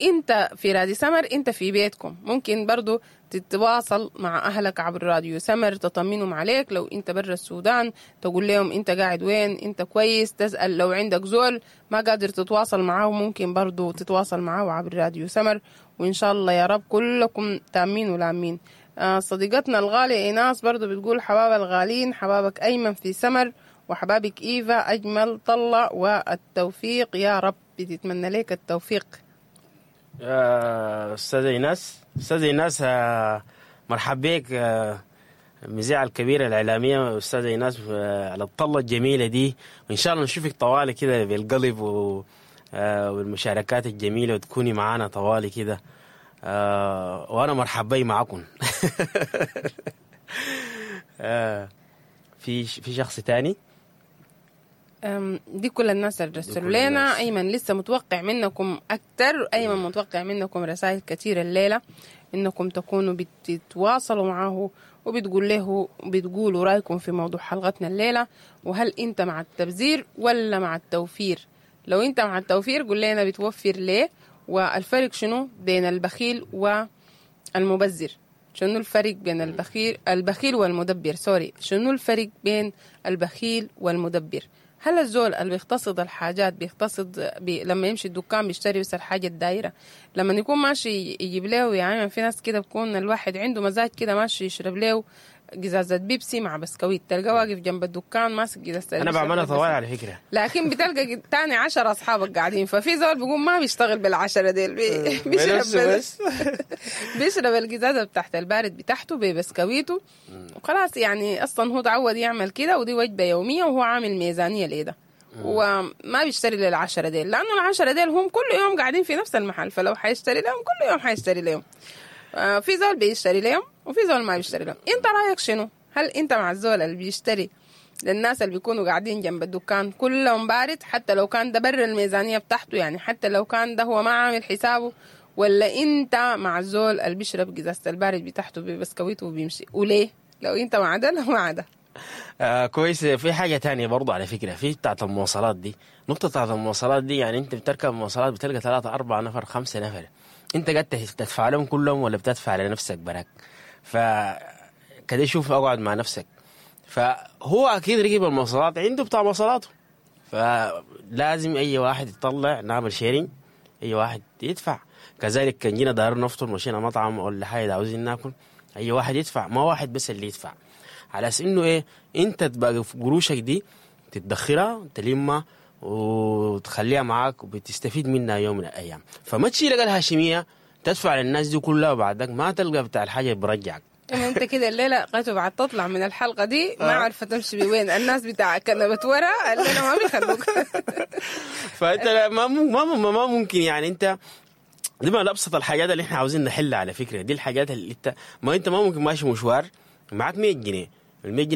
انت في راديو سمر، انت في بيتكم، ممكن برضو تتواصل مع اهلك عبر راديو سمر، تطمنهم عليك. لو انت برا السودان تقول لهم انت قاعد وين، انت كويس، تسأل. لو عندك زول ما قادر تتواصل معاه ممكن برضو تتواصل معاه عبر راديو سمر. وان شاء الله يا رب كلكم تامين ولامين. صديقتنا الغالية ايناس برضو بتقول حباب الغالين، حبابك ايمن في سمر، وحبابك ايفا، اجمل طلة والتوفيق يا رب. بتتمنى لك التوفيق. استاذة ايناس، استاذة ايناس، مرحب بك، المذيعة الكبيرة الإعلامية أستاذة إيناس، على الطلة الجميلة دي، وإن شاء الله نشوفك طوالي كده بالقلب والمشاركات الجميلة، وتكوني معانا طوالي كده، وأنا مرحب بي معكم. في شخص تاني؟ دي كل الناس اللي رسلوا لنا. ايمن لسه متوقع منكم اكتر، ايمن متوقع منكم رسائل كثيرة الليلة، انكم تكونوا بتتواصلوا معه وبتقول له، بتقولوا رايكم في موضوع حلقتنا الليله، وهل انت مع التبذير ولا مع التوفير؟ لو انت مع التوفير قول لنا بتوفر ليه، والفرق شنو بين البخيل والمبذر؟ شنو الفرق بين البخيل والمدبر؟ sorry، شنو الفرق بين البخيل والمدبر؟ هل الزول اللي بيقتصد الحاجات بيقتصد لما يمشي الدكان بيشتري بس الحاجة الدايرة، لما يكون ماشي يجيب له، يعني في ناس كده بكون الواحد عنده مزاج كده ماشي يشرب له قزازة بيبسي مع بسكويت، تلقاه واقف جنب الدكان ماسك قزازة. انا بعملها طوال على فكرة. لكن بتلقى تاني 10 اصحابك قاعدين، ففي زول بيقوم ما بيشتغل بالعشرة ديل، بيشرب بيشرب القزازة بتاعت البارد بتاعته ببسكويته وخلاص. يعني اصلا هو تعود يعمل كده، ودي وجبة يومية، وهو عامل ميزانية ليه، وما بيشتري للعشرة ديل، لأنه العشرة ديل هم كل يوم قاعدين في نفس المحل، فلو حيشتري لهم كل يوم حيشتري لهم. في زول بيشتري لهم وفي زول ما بيشتري لهم. انت رايك شنو؟ هل انت مع الزول اللي بيشتري للناس اللي بيكونوا قاعدين جنب الدكان كلهم بارد، حتى لو كان ده بر الميزانية بتاعته، يعني حتى لو كان ده هو ما عامل حسابه، ولا انت مع الزول اللي بيشرب قزازة البارد بتاعته ببسكويته وبيمشي؟ وليه؟ لو انت مع ده لو مع ده. كويس. في حاجة تانية برضو على فكرة، في بتاعت المواصلات دي، نقطة بتاعت المواصلات دي، يعني انت بتركب مواصلات بتلقى 3 4 نفر 5 نفر، انت قاعد تدفع لهم كلهم ولا بتدفع لنفسك براك؟ فكده شوف، اقعد مع نفسك. فهو اكيد ركب المواصلات عنده بتاع مواصلاته، فلازم اي واحد يطلع، نعمل sharing، اي واحد يدفع. كذلك كان جينا دار نفطر، مشينا مطعم ولا حاجة عاوزين ناكل، اي واحد يدفع، ما واحد بس اللي يدفع. على اساس انه ايه، انت تبقى في قروشك دي تدخرها، تلمها وتخليها معاك وبتستفيد منها يوم من الايام. فما تشيل الهاشمية تدفع للناس دي كلها وبعدك ما تلقى بتاع الحاجة برجعك. انت كده الليلة قاتوا بعد تطلع من الحلقة دي ما عارفه تمشي بوين، الناس بتاع كنبة ورا الليلة ما بيخلوك. فانت ما ما ممكن، يعني انت دي من ابسط الحاجات اللي احنا عاوزين نحلها على فكرة. دي الحاجات اللي انت ما ممكن ماشي مشوار معاك 100 جنيه، ال 100 جنيه